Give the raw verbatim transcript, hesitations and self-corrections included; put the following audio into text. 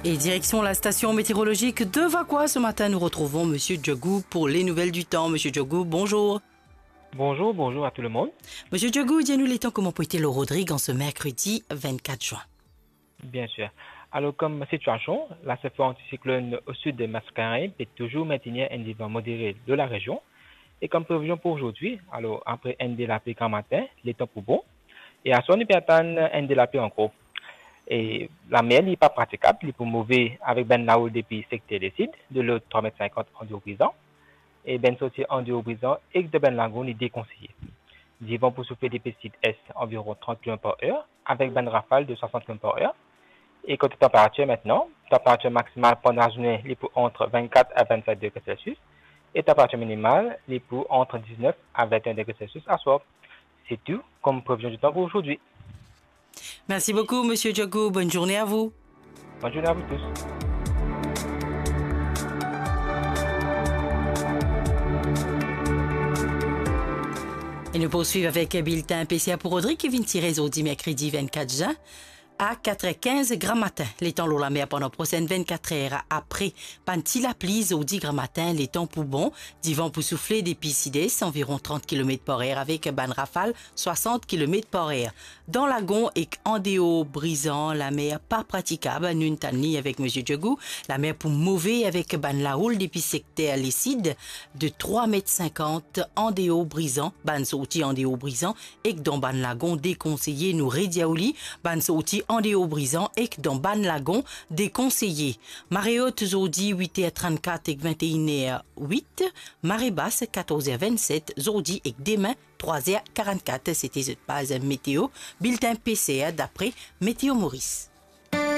Et direction la station météorologique de Vacoas. Ce matin, nous retrouvons Monsieur Djogou pour les nouvelles du temps. Monsieur Djogou, bonjour. Bonjour, bonjour à tout le monde. Monsieur Djogou, dis-nous les temps, comment peut-il Rodrigue en ce mercredi vingt-quatre juin? Bien sûr. Alors, comme situation, la surface anticyclone au sud de Mascarenhas peut toujours maintenir un divan modéré de la région. Et comme prévision pour aujourd'hui, alors, après un de la pluie grand matin, le temps pour bon. E aswar nou pe atann enn de lapli ankor. E lamer li pa pratikab, li pou move avek bann lahoul depi sekter lesid, de lot trwa met sinkant andeor Brizan, e bann sorti andeor Brizan ek dan bann lagon li dekonseye. Divan pou soufle depi sid-est anviron trant kilomet par er, avek bann rafal de swasant kilomet par er. E kote tanperatir aster, tanperatir maksimal pandan lazourne li pou ant vennkat a vennset degre Celsius, e tanperatir minimal li pou ant diznef a vennenn degre Celsius aswar. C'est tout comme prévision du temps pour aujourd'hui. Merci beaucoup, Monsieur Djogou. Bonne journée à vous. Bonne journée à vous tous. E nou poursuiv avek biltin P C R pou Rodrigue ki vinn tire zordi merkredi vennkat zin a kat er kinz gramatin. Letan lor lamer pandan prosenn vennkat er apre bann ti lapli zordi gramatin, letan pou bon. Divan pou soufle depi sid-est, anviron trant kilomet par er, avek bann rafal swasant kilomet par er. Dan lagon ek andeor Brizan, lamer pa pratikab, nou tann li avek Monsieur Djogou. Lamer pou move avek bann lahoul depi sekter lesid de trwa met sinkant andeor Brizan, bann sorti andeor Brizan ek dan bann lagon dekonseye. Nou redir ou li, bann sorti andeor Brizan ek dan bann lagon dekonseye. Mare ot zordi wit er trannkat ek vennteinn er wit, mare bas katorz er vennset zordi ek demin trwa er karannkat. Sete zot paz meteo, biltin P C R dapre Météo Maurice.